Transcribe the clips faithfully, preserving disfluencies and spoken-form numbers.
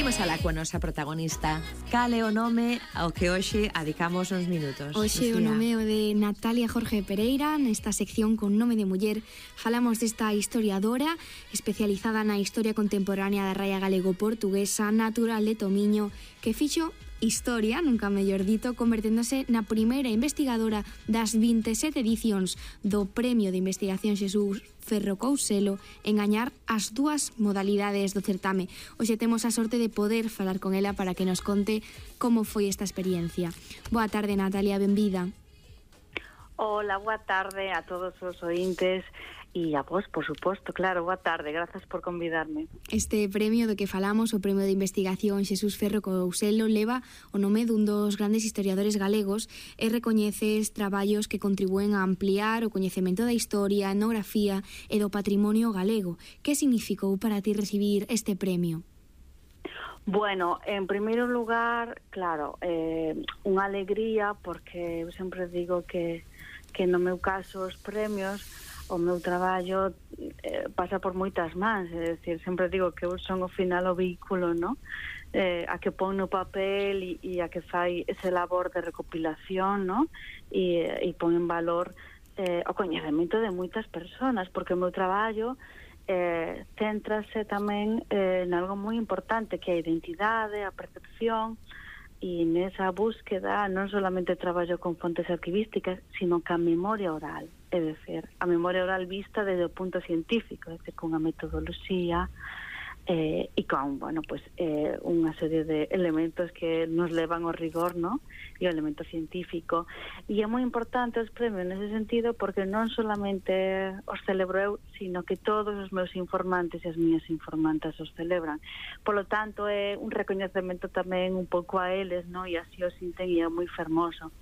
Imos alá coa nosa protagonista. Cal é o nome ao que hoxe adicamos uns minutos? Hoxe o nome o de Natalia Jorge Pereira. Nesta sección con nome de muller falamos desta historiadora especializada na historia contemporánea da raia galego-portuguesa, natural de Tomiño, que fixo historia, nunca mellor dito, converténdose na primeira investigadora das vinte e sete edicións do Premio de Investigación Xesús Ferro Couselo en gañar as dúas modalidades do certame. Hoxe temos a sorte de poder falar con ela para que nos conte como foi esta experiencia. Boa tarde, Natalia, benvida. Hola, boa tarde a todos os ointes e a vos, por suposto, claro, boa tarde, grazas por convidarme. Este premio do que falamos, o Premio de Investigación Xesús Ferro Couselo, leva o nome dun dos grandes historiadores galegos e recoñeces traballos que contribúen a ampliar o coñecemento da historia, etnografía e do patrimonio galego. Que significou para ti recibir este premio? Bueno, en primeiro lugar, claro, eh, unha alegría, porque eu sempre digo que, que no meu caso os premios, o meu traballo eh, pasa por moitas mans, é dicir, sempre digo que eu son ao final o vehículo, no? Eh, a que pon no papel e, e a que fai ese labor de recopilación, no? E, e pon en valor eh, o coñecemento de moitas persoas, porque o meu traballo eh, céntrase tamén eh, en algo moi importante, que é a identidade, a percepción, e nesa búsqueda non solamente traballo con fontes arquivísticas, sino que a memoria oral, é dicir, a memoria oral vista desde o punto científico, é dicir, con a metodoloxía eh, e con, bueno, pues, eh, unha serie de elementos que nos levan ao rigor, no? E o elemento científico. E é moi importante os premios nese sentido, porque non solamente os celebro eu, sino que todos os meus informantes e as miñas informantas os celebran. Polo tanto, é un recoñecemento tamén un pouco a eles, no? E así o sinten e é moi fermoso.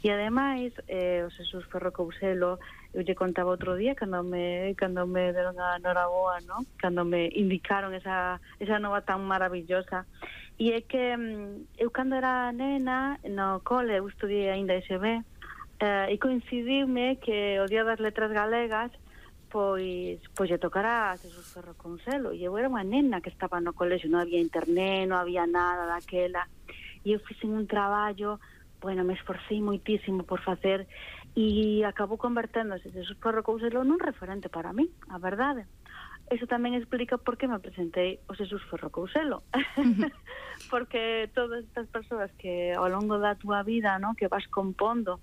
E ademais, eh, o Xesús Ferro Couselo, eu lle contaba outro día cando me cando me deron a noraboa, no? Cando me indicaron esa esa nova tan maravillosa. E é que eu cando era nena no cole, eu estudiei ainda S B, eh, e coincidiume que o Día das Letras Galegas pois pois lle tocara a Xesús Ferro Couselo, e eu era unha nena que estaba no colexio, non había internet, non había nada daquela, e eu fixen un traballo, bueno, me esforcei moitísimo por facer, e acabou converténdose Xesús Ferro Couselo nun referente para mí, a verdade. Eso tamén explica por que me presentei o Xesús Ferro Couselo. Porque todas estas persoas que ao longo da túa vida, no, que vas compondo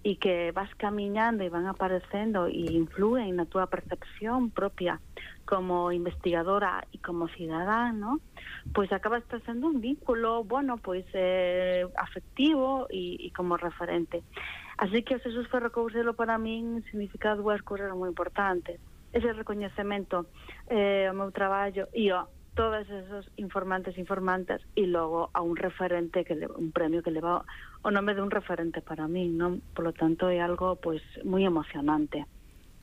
e que vas camiñando e van aparecendo e influen na túa percepción propia como investigadora e como cidadán, no? Pois acabas sendo un vínculo, bueno, pois eh, afectivo e, e como referente. Así que o Xesús Ferro Couselo para min significa dúas cousas moi importantes. Ese recoñecemento eh, ao meu traballo e a todos esos informantes e informantas, e logo a un referente, que le, un premio que leva o nome de un referente para min, non? Por lo tanto é algo pois moi emocionante.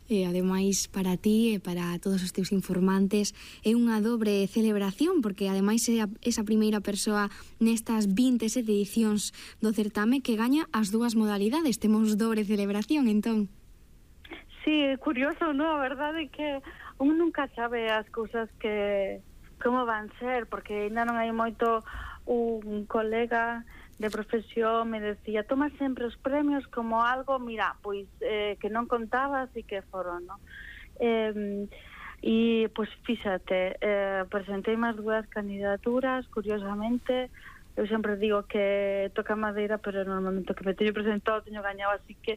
E ademais para ti e para todos os teus informantes é unha dobre celebración, porque ademais é a, esa primeira persoa nestas vinte e sete edicións do certame que gaña as dúas modalidades. Temos dobre celebración, entón. Sí, é curioso, non? A verdade é que un nunca sabe as cousas que como van ser, porque ainda non hai moito. Un colega de profesión me decía, toma sempre os premios como algo, mira, pois eh, que non contabas e que foron, non? Eh, e, pois, fíxate, eh, presentei máis dúas candidaturas, curiosamente. Eu sempre digo que toca madeira, pero normalmente o que me teño presentado teño gañado, así que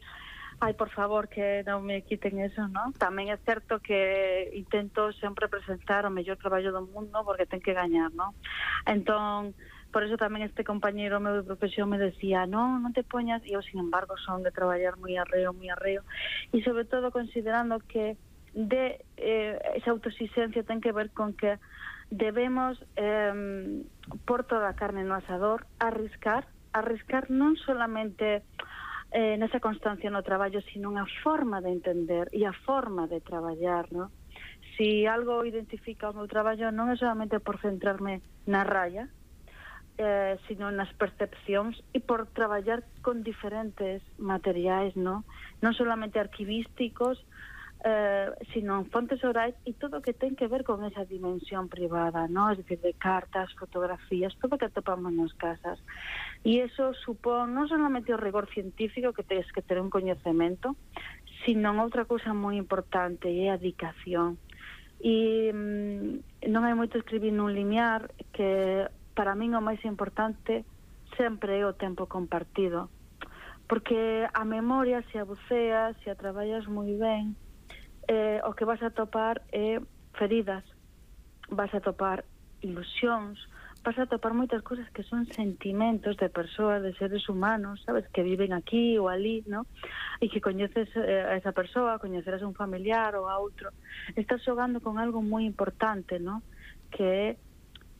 ai, por favor, que non me quiten eso, non? Tamén é certo que intento sempre presentar o mellor traballo do mundo, porque ten que gañar, non? Entón, por eso tamén este compañeiro meu de profesión me decía, non, non te poñas, e eu, sin embargo, son de traballar moi arreo, moi arreo, e sobre todo considerando que de eh, esa autoexigencia ten que ver con que debemos eh, por toda a carne no asador, arriscar, arriscar non solamente Eh, nesa constancia no traballo, sino a forma de entender e a forma de traballar, no? Si algo identifica o meu traballo non é solamente por centrarme na raya, eh, sino nas percepcións e por traballar con diferentes materiais, no? Non solamente arquivísticos, eh, sino en fontes orais e todo o que ten que ver con esa dimensión privada, ¿no? Es decir, de cartas, fotografías, todo o que atopamos nas casas. E iso supón non solamente o rigor científico que tens que ter un coñecemento, sino outra cousa moi importante, é a dedicación. E mm, non hai moito escribir nun limiar, que para min o máis importante sempre é o tempo compartido, porque a memoria, se a buceas, se a traballas moi ben, eh, o que vas a topar é feridas, vas a topar ilusións, vas a topar moitas cousas que son sentimentos de persoas, de seres humanos, sabes, que viven aquí ou ali, ¿no? E que coñeces eh, a esa persoa, coñecerás a un familiar ou a outro. Estás xogando con algo moi importante, ¿no? Que é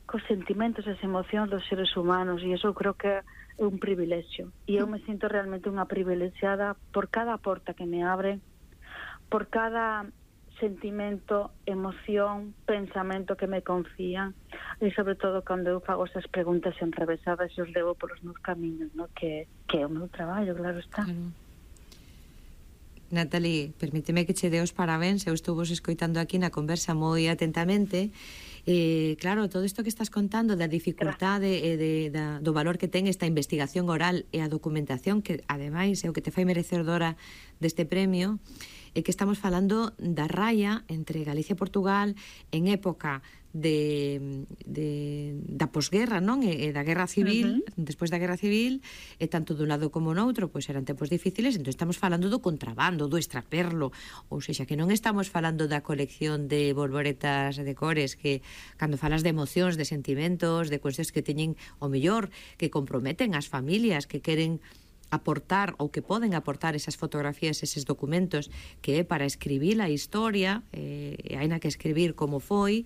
cos sentimentos e as emocións dos seres humanos, e iso creo que é un privilexio. E eu me sinto realmente unha privilexiada por cada porta que me abren, por cada sentimento, emoción, pensamento que me confían, e sobre todo cando eu fago esas preguntas enrevesadas e os levo polos meus camiños, ¿no? que, que é o meu traballo, claro está. Claro. Natalie, permíteme que che dé os parabéns, eu estou vos escoitando aquí na conversa moi atentamente. Eh, claro, todo isto que estás contando da dificultade e de, da, do valor que ten esta investigación oral e a documentación, que ademais é o que te fai merecedora deste premio, é que estamos falando da raya entre Galicia e Portugal en época de, de da posguerra, non? E, e da guerra civil, uh-huh. Despois da guerra civil, e tanto dun lado como no outro, pois eran tempos difíciles, entón estamos falando do contrabando, do extraperlo, ou seja, que non estamos falando da colección de bolboretas de cores, que cando falas de emocións, de sentimentos, de cuestións que teñen o mellor, que comprometen as familias, que queren aportar ou que poden aportar esas fotografías, eses documentos, que é para escribir a historia, eh, e hai na que escribir como foi,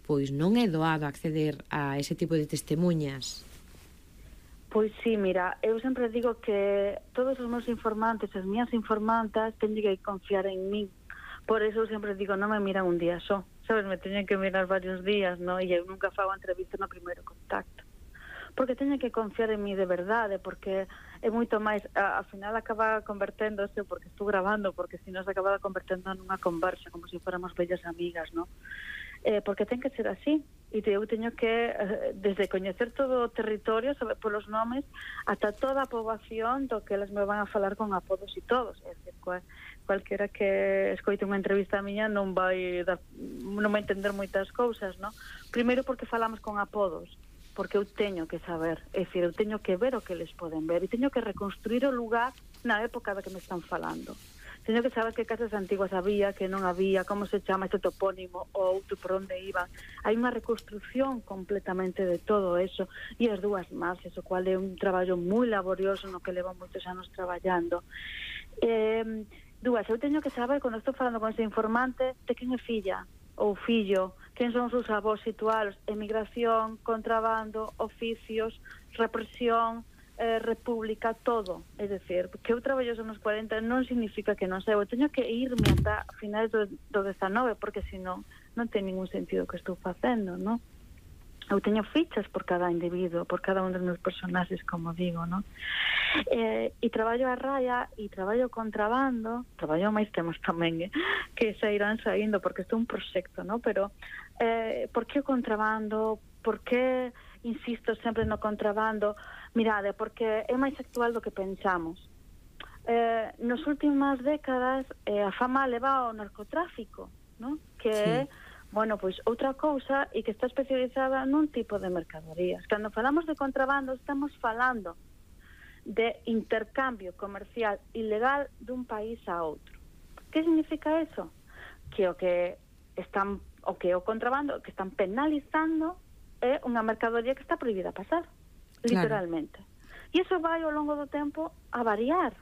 pois non é doado acceder a ese tipo de testemunhas. Pois sí, mira, eu sempre digo que todos os meus informantes, as miñas informantas, teñen que confiar en min. Por eso eu sempre digo, non me miran un día só, sabes, me teñen que mirar varios días, ¿no? E eu nunca fago entrevista no primeiro contacto, porque teñen que confiar en mí de verdade, porque é moito máis, a, ao final acaba converténdose, porque estou grabando, porque se non se acaba convertendo nunha conversa, como se fóramos bellas amigas, ¿no? Eh, porque ten que ser así, e eu teño que, desde coñecer todo o territorio, saber polos nomes, ata toda a poboación do que elas me van a falar con apodos e todos, é dicir, cual, cualquera que escoite unha entrevista miña non vai dar, non vai entender moitas cousas, ¿no? Primeiro porque falamos con apodos, porque eu teño que saber, é dicir, eu teño que ver o que eles poden ver, e teño que reconstruir o lugar na época da que me están falando. Teño que saber que casas antiguas había, que non había, como se chama ese topónimo, ou outro por onde iban. Hai unha reconstrucción completamente de todo eso, e as dúas más, eso cual é un traballo moi laborioso no que levo moitos anos traballando. Eh, dúas, eu teño que saber, cando estou falando con ese informante, de quen é filla, ou fillo, quen son os seus avós situados, emigración, contrabando, oficios, represión, eh, república, todo. É dicir, que eu traballo nos cuarenta non significa que non sei, eu teño que irme ata finais do, do dezanove, porque senón non ten ningún sentido que estou facendo, non? Eu teño fichas por cada individuo, por cada un dos meus personaxes, como digo, non? Eh, e traballo a raya, e traballo contrabando, traballo máis temas tamén, eh, que se irán saindo, porque isto é un proxecto, non? Pero, eh, por que o contrabando? Por que insisto sempre no contrabando? Mirade, porque é máis actual do que pensamos. Eh, nas últimas décadas, eh, a fama leva ao narcotráfico, non? Que é, sí. Bueno, pois outra cousa e que está especializada nun tipo de mercadorías. Cando falamos de contrabando, estamos falando de intercambio comercial ilegal dun país a outro. Que significa eso? Que o que están, o que o contrabando que están penalizando é unha mercadoría que está prohibida pasar, literalmente. Claro. E iso vai ao longo do tempo a variar.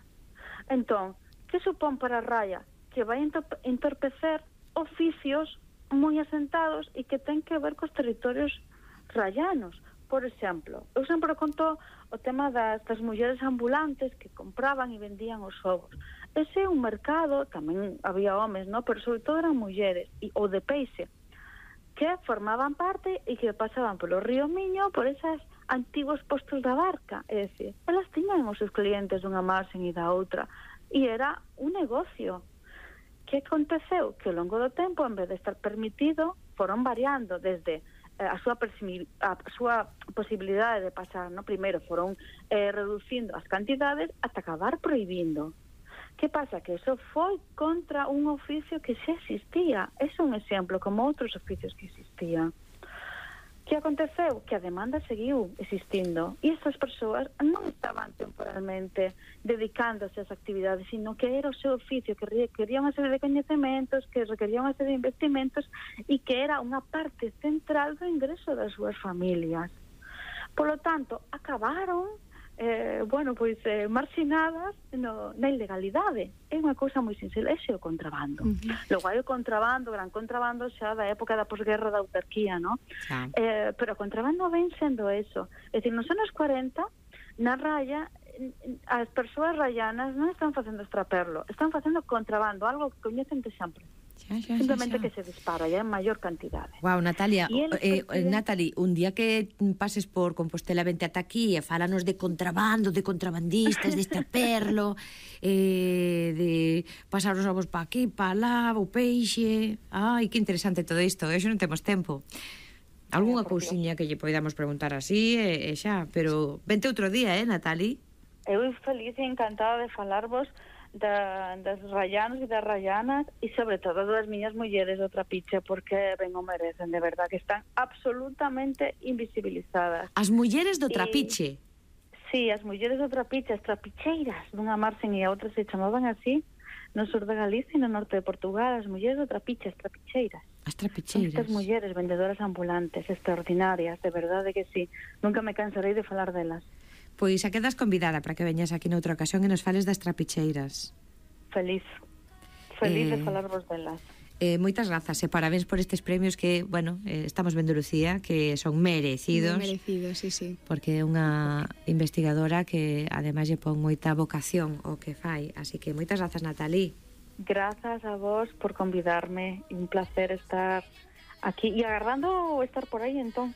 Entón, que supón para a raya? Que vai entorpecer oficios moi asentados e que ten que ver cos territorios rayanos. Por exemplo, eu sempre conto o tema das, das mulleres ambulantes que compraban e vendían os ovos. Ese é un mercado, tamén había homes, ¿no? Pero sobre todo eran mulleres, e, ou de peixe, que formaban parte e que pasaban polo río Miño, por esas antigos postos da barca. É dicir, elas tiñan os seus clientes dunha marxen e da outra, e era un negocio que que aconteceu? Que ao longo do tempo, en vez de estar permitido, foron variando desde eh, a súa a súa posibilidade de pasar, no? Primeiro foron eh, reducindo as cantidades ata acabar prohibindo. Que pasa? Que eso foi contra un oficio que xa existía. É un exemplo, como outros oficios que existían. Que aconteceu? Que a demanda seguiu existindo e estas persoas non estaban temporalmente dedicándose ás actividades, sino que era o seu oficio, que requería unha serie de coñecementos, que requería unha serie de investimentos e que era unha parte central do ingreso das súas familias. Por lo tanto, acabaron eh, bueno, pois eh, marxinadas no, na ilegalidade. É unha cousa moi sincera, ese é o contrabando. Uh -huh. Logo hai o contrabando, o gran contrabando xa da época da posguerra da autarquía, ¿no? Ja. Eh, pero o contrabando ven sendo eso. É dicir, nos anos cuarenta, na raya, as persoas rayanas non están facendo extraperlo, están facendo contrabando, algo que coñecen de sempre. Xa, xa, simplemente xa, xa. Que se dispara ya en maior cantidade. Wow, Natalia, eh, eh, Natalie, un día que pases por Compostela, vente ata aquí e fálanos de contrabando, de contrabandistas, de extraperlo, eh, de pasar os ovos pa aquí, pa lá, o peixe. Ai, que interesante todo isto, eso non temos tempo. Algúnha cousiña que lle poidamos preguntar así, e eh, xa, pero vente outro día, eh, Natalie? Eu feliz e encantada de falarvos Da, das rayanos e das rayanas e sobre todo das miñas mulleres do Trapiche, porque ben o merecen, de verdad, que están absolutamente invisibilizadas. As mulleres do Trapiche? Si, sí, as mulleres do Trapiche, as trapicheiras dunha marxen e a outra se chamaban así no sur de Galicia e no norte de Portugal, as mulleres do Trapiche, as trapicheiras. As trapicheiras. Estas mulleres vendedoras ambulantes extraordinarias, de verdade que sí, nunca me cansarei de falar delas. Pois a quedas convidada para que veñas aquí noutra ocasión e nos fales das trapicheiras. Feliz. Feliz eh, de falarvos delas. Eh, moitas grazas e parabéns por estes premios que, bueno, eh, estamos vendo, Lucía, que son merecidos. Muy merecidos, sí, sí. Porque é unha investigadora que ademais lle pon moita vocación o que fai. Así que moitas grazas, Natalie. Grazas a vos por convidarme. Un placer estar aquí e agarrando estar por aí, entón.